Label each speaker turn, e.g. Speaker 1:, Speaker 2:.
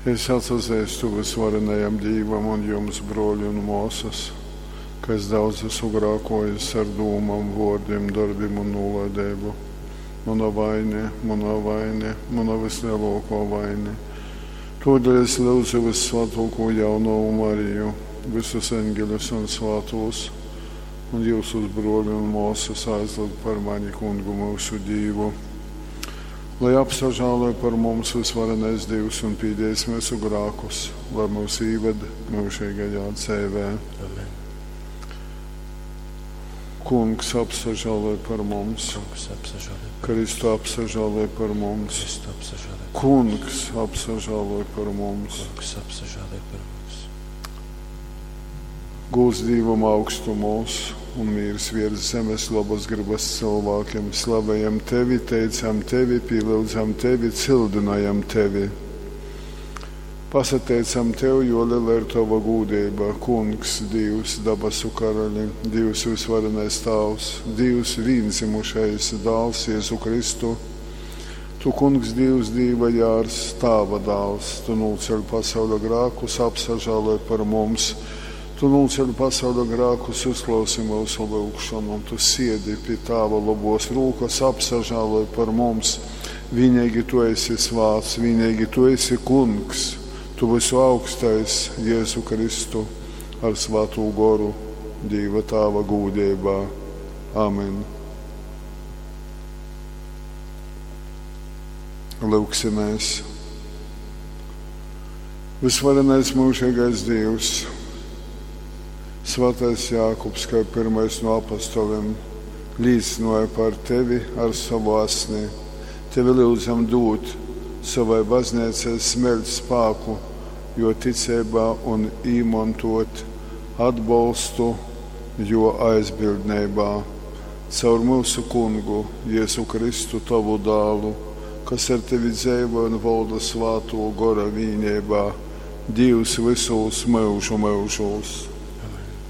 Speaker 1: Es atsazeistu vysvarenajam Dīvam un jums, brōli un mōsas, ka es daudz esmu grākōjis ar dūmom, vōrdim, dorbim un nūlaideibu. Muna vaine, muna vaine, muna vyslelōkō vaine. Tōdēļ es lyudzu vyssvātōkū jaunovu Mariju, vysus eņgeļus un svātūs, un jyusus, brōli un mōsas, aizlyugt par mani Kungu myusu Dīvu. Lai apsažāloj par mums vysvarenais Dīvs un pīdējis myusu grākus, lai myus īved myužeigajā dzeivē.
Speaker 2: Amen.
Speaker 1: Kungs apsažāloj par mums.
Speaker 2: Kungs apsažāloj par mums.
Speaker 1: Kristu apsažāloj par mums.
Speaker 2: Kristu apsažāloj par
Speaker 1: Kungs apsažāloj par mums.
Speaker 2: Kungs apsažāloj par mums.
Speaker 1: Gūds Dīvam augstumos un mīrs viers zemes labas gribas cilvēkiem. Slavējam tevi, teicam tevi, pīlyudzam tevi, cildinājam tevi. Pasateicam tev, jo liela ir tava gūdība, Kungs, Dīvs, dabasu karaļi, Dīvs vysvarenais Tāvs, Dīvs vīndzimušais Dāls Jēzu Kristu. Tu, Kungs, Dīvs, Dīva jārs, Tāva dāls, tu nūceļ pasauļa grākus, apsažāloj par mums. Tu nūceļ pasauļa grākus, uzklausi myusu lyugšonu. Tu siedi pi Tāva lobos rūkas, apsažāloj par mums. Vienīgi tu esi svāts, vienīgi tu esi Kungs, tu visu augstais Jēzu Kristu ar svātū goru Dīva Tāva gūdībā. Amen. Lūgsimies. Visvarenais mūžīgais Dievs, Svētais Jākubs, kā pirmais no apostoliem, liecināja par tevi ar savu asni. Tevi lūdzam dot savai baznīcai smeļt spēku, jo ticībā un īmantot atbalstu, jo aizbildnībā. Caur mūsu kungu Jēzu Kristu, tavu dālu, kas ar tevi dzīvo un valda svāto gora vīnībā, Dievs visos mūžu mūžos.